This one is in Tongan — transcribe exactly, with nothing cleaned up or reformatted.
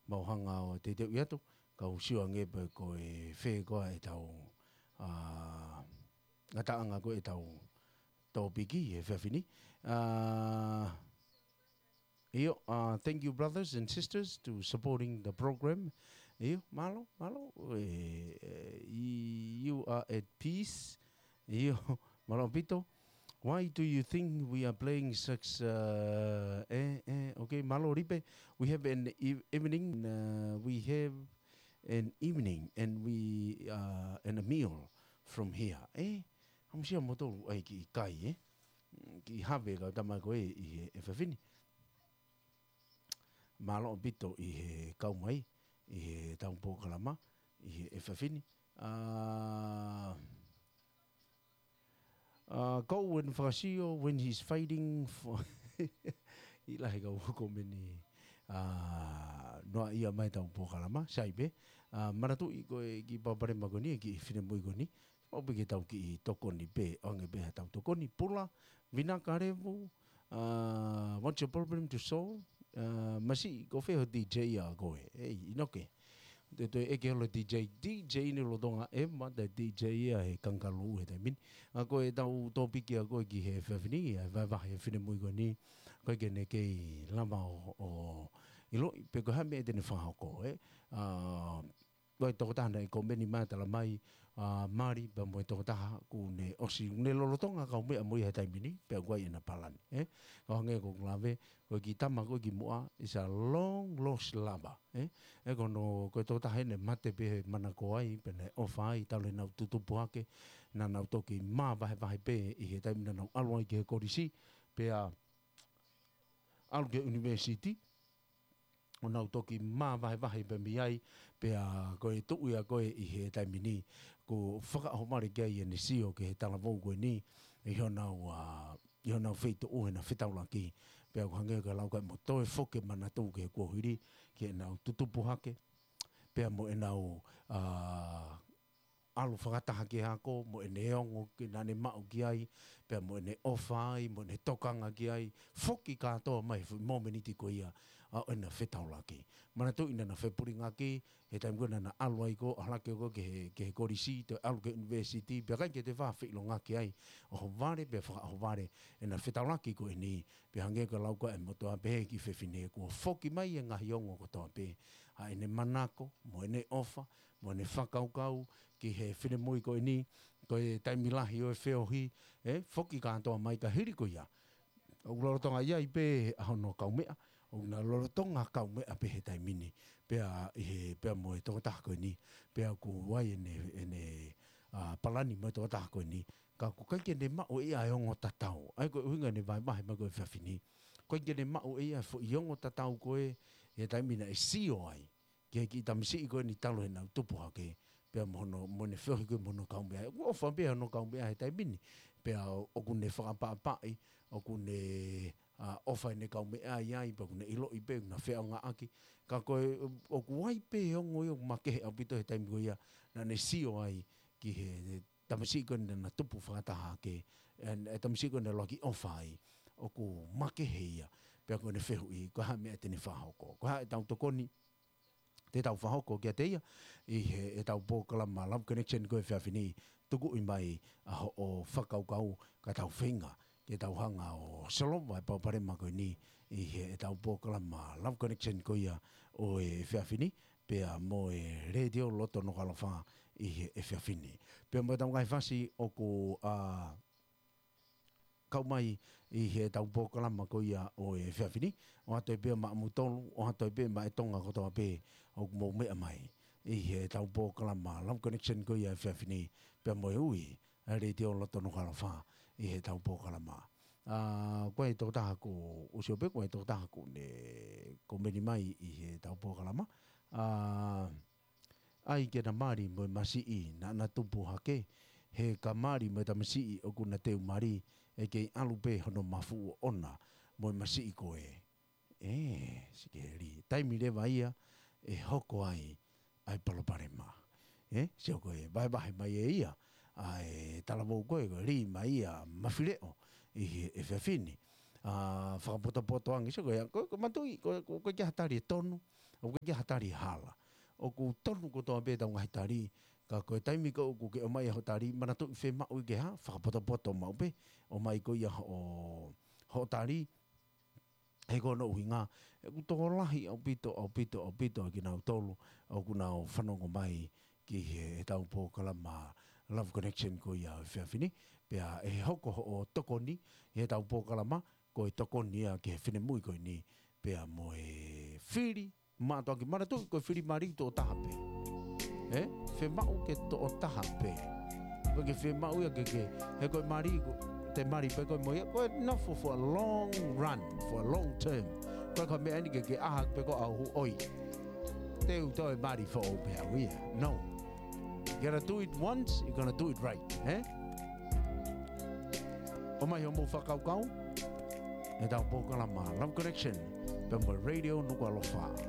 mau hanga ʻo teuteuʻi atu, kau sio ange pē ko e fē koā ʻetau, ā, ngataʻanga ko ʻetau tōpiki he efiafi ni. Ā, ʻio, ā, thank you brothers and sisters to supporting the program. ʻIo, mālō, mālō, ē, ē, you are at peace. ʻIo, mālō ʻaupito. Why do you think we are playing such, uh, eh, eh, okay, mālō Lipe. We have an e-, evening, uh, we have an evening and we, uh, and a meal from here. Eh, hamusia moto ai ki kai, eh? Ki have kau tama ko e ʻi he efiafi ni. Mālō ʻaupito ʻi he kau mai, ʻi he tau polokalama, ʻi he efiafi ni. Ā, ā, ko when fakasio, when he's fighting for, ʻi lahi kau komeni, ā, noa ia mai tau polokalama, sai pē, ā, manatuʻi ko e kiʻi palopalema ko eni, kiʻi finemui ko eni, ʻo piki tau kiʻi tokoni pē, ʻoange pē ha tau tokoni, Pula, Vinaka Levu, ā, what's your problem to solve? Ā, masiʻi, ko fē ho D J ʻa koe, ei, ʻInoke. Te toe ʻeke holo D J, D J ni lolotonga e ma te D J ia he kangalū he taimi ni. Ā, ko e tau tōpiki ʻa koe ki he efiafi ni, ʻa e vahevahe e finemui ko eni, ko e ke ne kei lava ʻo, ʻo ʻiloʻi, pe ko e hā e meʻa te ne fakahoko, ē? Ā, ko e tokotaha naʻe komeni mai talamai, ā, mali, pea mo e tokotaha kuo ne ʻosi, ne lolotonga kaumeʻa mo ia he taimi ni, pea ʻoku ʻi ai ʻena palani, ē? Ka hangē ko ʻeku lave, ko e kiʻi tama ko e kimuʻa, is a long lost lover, ē? Ē ko hono, ko e tokotaha ʻene mate pē he manako ai, pea naʻe ʻofa ai, talu ʻenau tutupu hake, naʻa nau toki māvahevahe pē ʻi he taimi naʻa nau ʻalu ai ki he kolisi, pea ʻalu ki he university, ʻo nau toki māvahevahe pē mei ai, pea ko e tuʻu ia ko e ʻi he taimi ni, kuo fakaʻohovale ki ai ʻene sio ki he talavou ko eni, ʻi honau, ā, ʻi honau feituʻu heʻena fetaulaki, pea ʻoku hangē ko e lau ko e mo toe foki manatu ki he kuohili, ki heʻenau tutupu hake, pea mo ʻenau, ā, ʻalu fakataha ki he ako, mo ʻene ongo ke naʻa ne maʻu ki ai, pea mo ʻene ʻofa ai, mo ʻene tokanga ki ai, foki kātoa mai he foʻi momeniti ko ia, ā, ʻo ʻena fetaulaki. Manatuʻi naʻa na fepulingaki, he taimi ko ē naʻa na ʻalu ai ko, ʻalu hake ko ki he, ki he kolisi, toe ʻalu ki he university, pea ʻikai ke toe fā feʻilongaki ai, ʻohovale, pea fakaʻohovale, ʻena fetaulaki ko eni, pea hangē ko e lau ko e motuʻa pehē ki he fefine kuo foki mai e ngaahi ongo kotoa pē, ʻa ʻene manako, mo ʻene ʻofa, mo ʻene fakakaukau, ki he finemui ko eni, ko e taimi lahi ʻo e feohi, ē, foki kātoa mai ka hili ko ia. ʻOku lolotonga ʻi ai pē ʻa hono kaumeʻa, ʻoku na lolotonga kaumeʻa pē he taimi ni, pea ʻi he, pea mo e tokotaha ko eni, pea ʻoku ʻi ai ʻene, ʻene, ā, palani mo e tokotaha ko eni, ka ʻoku ʻikai ke ne maʻu ʻe ia e ongo tatau. ʻA ia ko e ʻuhinga ʻene vahevahe mai ko e efiafi ni. ʻOku ʻikai ke ne maʻu ʻe ia e foʻi ongo tatau ko ē, he taimi naʻe sio ai ki he kiʻi tamasiʻi ko eni talu heʻenau tupu hake, pea mo hono, mo ʻene feohi ko ē mo hono kaumeʻa. ʻOku ʻofa pē hono kaumeʻa he taimi ni, pea ʻoku ne fakaʻapaʻapaʻi, ʻoku ne, ā, ʻofa ʻene kaumeʻa ai, pea ʻoku ne ʻiloʻi pē, ʻoku na feʻaongaʻaki. Ka ko e, ʻoku ʻi ai pē ongo ia ʻoku makehe ʻaupito he taimi ko ia, naʻa ne sio ai ki he tamasiʻi ko ē naʻa na tupu fakataha hake, ʻe, ʻe tamasiʻi ko ē naʻe ʻuluaki ʻofa ai, ʻoku makehe ia, pea ko ʻene fehuʻi, ko e hā e meʻa te ne fakahoko. Ko e hā ʻetau tokoni, te tau fakahoko kiate ia, ʻi he, ʻetau polokalama Love Connection ko e efiafi ni, tukuʻi mai ʻa hoʻo fakakaukau ka tau feinga, ke tau hanga ʻo solova e palopalema ko eni, ʻi he, ʻetau polokalama Love Connection ko ia ʻo e efiafi ni, pea mo e Letiō Loto Nukuʻalofa ʻi he efiafi ni. Pea mo ʻetau ngaahi fasi ʻoku, ā, kau mai ʻi heʻetau polokalama ko ia ʻo e efiafi ni, ʻoatu ai pē maʻamoutolu, ʻoatu ai pē maʻa e Tonga kotoa pē ʻoku mou meʻa mai ʻi heʻetau polokalama Love Connection ko ia efiafi ni, pea mo e ui ʻa e Letiō Loto Nukuʻalofa ʻi heʻetau polokalama. Ā, ko e tokotaha ko, ʻosi ʻo pē ko e tokotaha ko ē ne komeni mai ʻi heʻetau polokalama. Ā, ʻai ke na mali mo e masiʻi naʻa na tupu hake, he ka mali mo e tamasiʻi ʻoku na teu mali, ʻe kei ʻalu pē hono mafuʻu ʻona mo e masiʻi ko ē. Ē, sikeli. Taimi leva ia ʻe hoko ai ʻa e palopalema. Ē, sio ko e vahevahe mai ʻe ia ʻa e talavou ko ē, ko e lī mai ia Mafileʻo ʻi he efiafi ni. Ā, fakapotopoto ange, sio ko ia, ko, ko e matuʻi, ko, ko, ko e kiʻi tali ʻe tonu, ʻOku ʻikai ke ha tali hala. ʻOku tonu kotoa pē ʻetau ngaahi tali, ka ko e taimi ko ē ʻoku ke ʻomai hoʻo tali, manatuʻi fiemaʻu ia ke hā, fakapotopoto maʻu pē, ʻomai ko ia hoʻo, hoʻo tali, he ko hono ʻuhinga, ʻoku tokolahi ʻaupito, ʻaupito, ʻaupito ʻa kinautolu, ʻoku nau fanongo mai ki he, heʻetau polokalama Love Connection ko ia ʻo e efiafi ni, pea ʻe hoko hoʻo tokoni, heʻetau polokalama, ko e tokoni ia ki he finemui ko eni, pea mo e fili, mātuʻaki manatuʻi ko e fili mali toʻotaha pē. Ē? Fiemaʻu ke toʻotaha pē. Ko e ke fiemaʻu ia ke ke, he ko e mali, ko e te mali pē ko e mo ia, ko e nofo for a long run, for a long term. Ko e ka meʻa ni ke ke ʻaha pē ko au ʻoi. Te u toe mali foʻou pē au ia. No. You gotta do it once, you gotta do it right, ē? ʻOmai hoʻomou fakakaukau, heʻetau polokalama Love Connection, pea mo e Radio Nukuʻalofa.